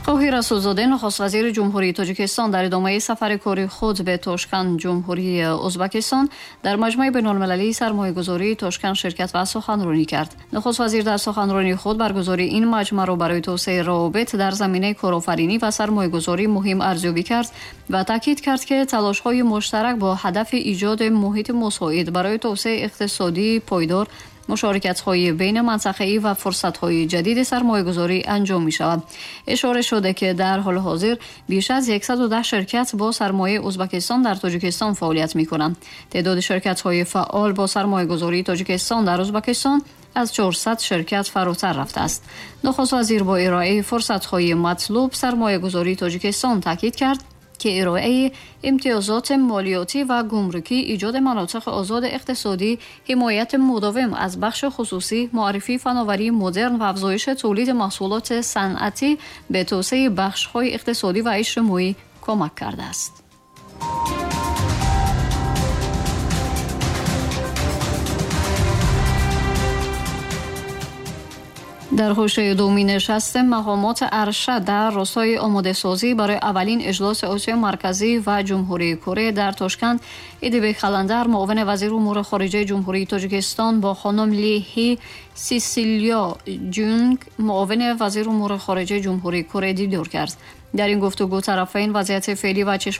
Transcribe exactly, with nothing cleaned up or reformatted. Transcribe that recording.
Қоҳир Расулзода, нахуствазири Ҷумҳурии Тоҷикистон, дар идомаи сафари кори худ ба Тошканд, Ҷумҳурии Ӯзбекистон, дар маҷмаи байналмилалии сармоягузории Тошканд ширкат ва суханронӣ кард. Нахуствазир дар суханронии худ баргузории ин маҷмаъро барои тавсеаи равобит дар заминаи корафаринӣ ва сармоягузорӣ муҳим арзёбӣ кард ва таъкид кард, ки талошҳои муштарак бо ҳадафи эҷоди муҳити мусоид барои тавсеаи иқтисодии пойдор, мушорикатҳои байнаминтақавӣ ва фурсатҳои ҷадиди сармоягузорӣ анҷом мешавад. Ишора шуда, ки дар ҳоли ҳозир беш аз яксаду даҳ ширкат бо сармояи Ӯзбекистон дар Тоҷикистон фаъолият мекунанд. Теъдоди ширкатҳои фаъол бо сармоягузории Тоҷикистон дар Ӯзбекистон аз чорсад ширкат фаротар рафтааст. Нахуствазир бо ироаи фурсатҳои матлуб сармоягузории Тоҷикистон таъкид кард, ки ироаи имтиёзоти молиётӣ ва гумрукӣ, эҷоди манотиқи озоди иқтисодӣ, ҳимояти мудовим аз бахши хусусӣ, муаррифии фановарии модерн ва афзоиши тавлиди маҳсулоти санъатӣ ба тавсеаи бахшҳои иқтисодӣ ва иҷтимоӣ кӯмак кардааст. Дар ҳошияи дуюмин нишасти мақомоти аршад дар ростаи омодасозӣ барои аввалин иҷлоси Осиёи Марказӣ ва Ҷумҳурии Корея дар Тошканд, Идибек Халандар, муовини вазири умури хориҷаи Ҷумҳурии Тоҷикистон, бо хонум Ли Ҳи Сисилио Ҷунг, муовини вазири умури хориҷаи Ҷумҳурии Корея дидор кард. Дар ин гуфтугӯ тарафайн вазъияти феълӣ ва